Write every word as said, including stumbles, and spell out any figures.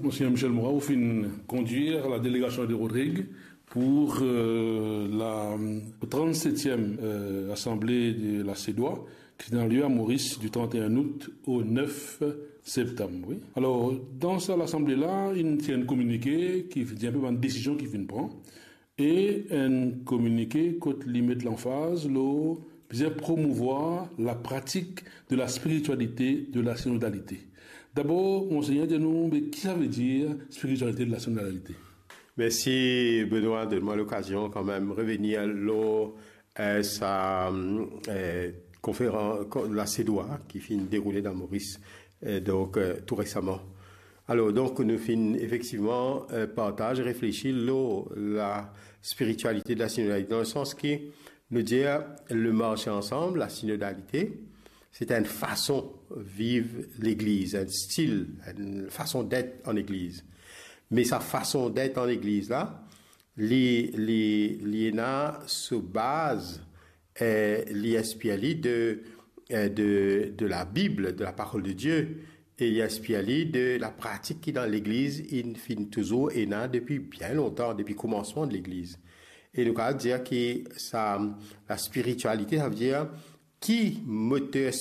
Monseigneur Michel Moura, ou finn kondwir la delegasion de Rodrig pou, euh, la, euh, trannsetiem, euh, asanble de la CEDOA, ki finn al lye a Moris di trant-e-enn out o nef septam, wi. Alor, dan sa lasanble la, inn tir enn kominike ki dir enpe bann desizion ki finn pran, e enn kominike kot li met lanfaz lor bizin promouvwar la pratik de la spiritualité de la synodalité. Dabor, Monseigneur, dir nou, me ki sa ve dir spiritualité de la synodalité? Mersi, Benoît, donn mwa lokazion kanmem revenir lor, euh, sa, euh, konferans, ko-, la CEDOA ki finn deroule dan Moris, euh, donk, euh, tou resaman. Alor, donk, nou finn efektivman, euh, partaz, reflesi lor la spiritualité de la synodalité, dan le sans ki nou dir le marche ensemble, la synodalité, c'est une façon viv legliz, enn stil, enn fason det an legliz. Me sa fason det an legliz la, li, li, li ena so baz, eh, li inspir li de, eh, de, de la Bib, de la parol de Die, e li inspir li de la pratik ki dan legliz, inn finn touzour ena depi bien lontan, depi koumansman de legliz. E nou kapav dir ki sa, la spiritualité, sa ve dir ki moter